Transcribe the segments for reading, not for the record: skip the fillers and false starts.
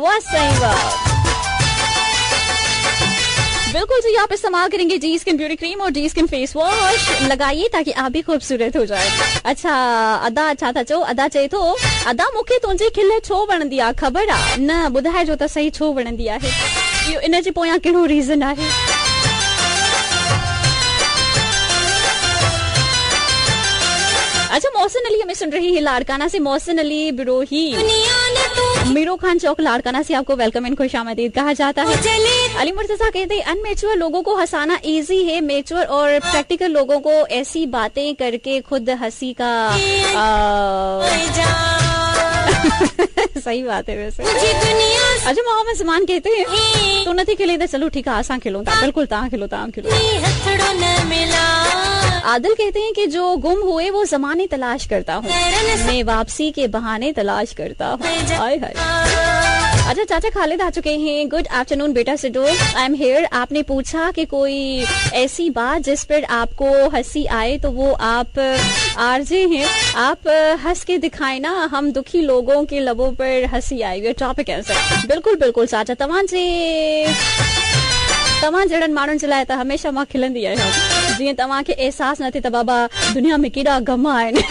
वाह साईं वाह। बिल्कुल जी, आप इस्तेमाल करेंगे डी स्किन ब्यूटी क्रीम और डी स्किन फेस वॉश लगाइए ताकि आप भी खूबसूरत हो जाए। अच्छा अदा, छा था चओ? अदा चए थो, अदा मूंखे तुंहिंजी खिल छो वणंदी आहे, ख़बर आहे न? ॿुधाइजो त सही छो वणंदी आहे, इहो इन जे पोयां कहिड़ो रीज़न आहे? अच्छा मोहसिन अली हमें सुन रही है लाड़काना से। मोहसिन अली बिरोही मीरो खान चौक लाड़काना से आपको welcome and खुश आमदीद कहा जाता है। अली मुर्तजा कहते हैं अनमेच्योर लोगों को हंसाना इजी है, मेच्योर और प्रैक्टिकल लोगों को ऐसी बातें करके खुद हंसी का सही बात है वैसे। अच्छा मोहम्मद जमान कहते हैं तो नथी खिले त चलो ठीक आहे, असां खिलूं था, बिल्कुल तव्हां खिलो, तव्हां खिलो। आदिल कहते हैं कि जो गुम हुए वो जमाने तलाश करता हूँ, मैं वापसी के बहाने तलाश करता हूँ। हाय हाय। अच्छा चाचा खालिद आ चुके हैं। गुड आफ्टरनून बेटा सिडो, I am here. आपने पूछा कि कोई ऐसी बात जिस पर आपको हंसी आए तो वो आप आरजे हैं, आप हंस के दिखाए ना, हम दुखी लोगों के लबों पर हंसी आई। ये टॉपिक ऐसा। बिल्कुल बिल्कुल चाचा, तव्हां जे तव्हां जहिड़नि माण्हुनि जे लाइ त हमेशह मां खिलंदी आहियां, जीअं तव्हांखे अहसासु न थिए त बाबा दुनिया में केॾा ग़म आहिनि।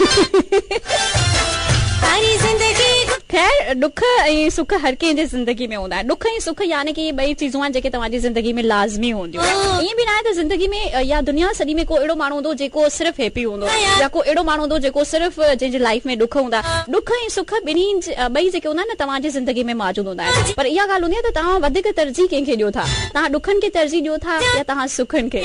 ख़ैर ॾुख ऐं सुख हर कंहिंजे ज़िंदगी में हूंदा आहिनि। ॾुख ऐं सुख यानी कि ॿई चीज़ूं आहिनि जेके तव्हांजी ज़िंदगी में लाज़मी हूंदियूं। ईअं बि न आहे त ज़िंदगी में या दुनिया सॼी में को अहिड़ो माण्हू हूंदो जेको सिर्फ़ु हैप्पी हूंदो या को अहिड़ो माण्हू हूंदो जेको सिर्फ़ु जंहिंजी लाइफ में ॾुख हूंदा। ॾुख ऐं सुख ॿिन्ही ॿई जेके हूंदा आहिनि न तव्हांजी ज़िंदगी में मौजूदु हूंदा आहिनि। पर इहा ॻाल्हि हूंदी आहे त तव्हां वधीक तरजीह कंहिंखे ॾियो था, तव्हां ॾुखनि खे तरजीह ॾियो था या तव्हां सुखनि खे?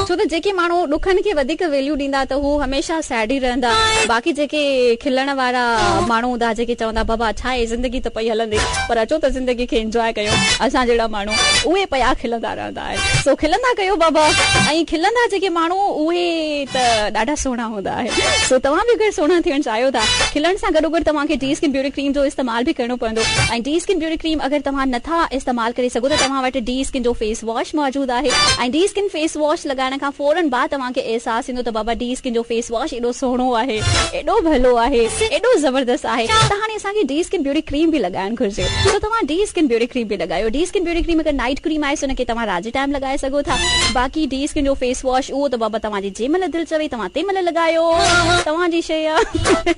छो त जेके माण्हू ॾुखनि खे वधीक वैल्यू ॾींदा त हू हमेशह सैड ई रहंदा। बाक़ी जेके खिलण वारा माण्हू हूंदा जेके चवंदा बाबा छा आहे ज़िंदगी त पई हलंदी, पर अचो त ज़िंदगी खे इंजॉय कयूं, असां जहिड़ा माण्हू उहे पिया खिलंदा रहंदा आहिनि। सो खिलंदा कयो बाबा, ऐं खिलंदा जेके माण्हू उहे त ॾाढा सुहिणा हूंदा आहिनि। सो तव्हां बि अगरि सुहिणा थियणु चाहियो था, खिलण सां गॾोगॾु तव्हांखे डी स्किन ब्यूटी क्रीम जो इस्तेमालु बि करिणो पवंदो। ऐं डी स्किन ब्यूटी क्रीम अगरि तव्हां नथा इस्तेमालु करे सघो त तव्हां वटि डी स्किन जो फेस वॉश मौजूदु आहे। ऐं डी स्किन फेस वॉश लॻाइण खां फ़ौरन बाद तव्हांखे अहसासु थींदो त बाबा डी स्किन जो फेस वॉश एॾो सुहिणो आहे, एॾो भलो आहे, एॾो ज़बरदस्त आहे। त हाणे असांखे डी स्किन ब्यूटी क्रीम बि लॻाइणु घुरिजे। त तव्हां डी स्किन ब्यूटी क्रीम बि लॻायो। डी स्किन ब्यूटी क्रीम अगरि नाइट क्रीम आहे हुनखे तव्हां राति जे टाइम लॻाए सघो था। बाक़ी डी स्किन जो फेस वॉश उहो त बाबा तव्हांजी जंहिं महिल दिलि चवे तव्हां तंहिं महिल लॻायो, तव्हांजी शइ आहे।